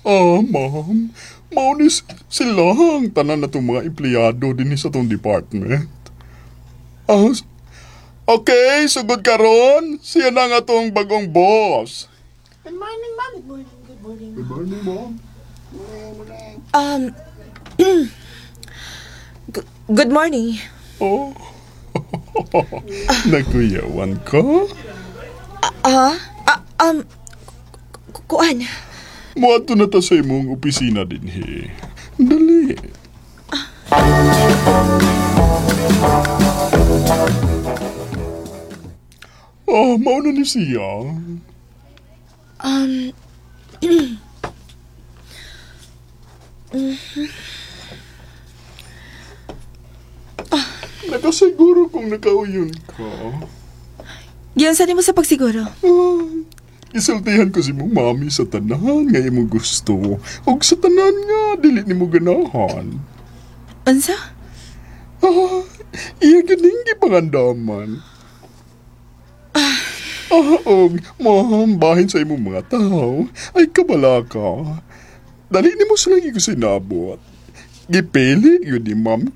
Ah, ma'am. Mao ni sila ang tanan na itong mga empleyado din sa atong department. Ah, okay, sugod karon. Siya na nga atong bagong boss. Good morning, ma'am. Good morning. Good morning. Good morning, ma'am. Good morning. Oh. Nakuyawan ka? Ah, kuan. Muadto na ta sa imong opisina dinhi. Dali. Ah, mao na ni siya. Nakasiguro kung nakauyon ka. Giunsa nimo sa pagsiguro? Ah, isultihan ko si mong mami sa tanan nga imong gusto ug sa tanan nga dili nimo ganahan. Unsa? Ah, iya ganing gipangandaman. Ah, og ma'am, bahin sa imong mga tao, ay kabala ka. Dali nimo sila gisinabot. Gipili yun ni ma'am.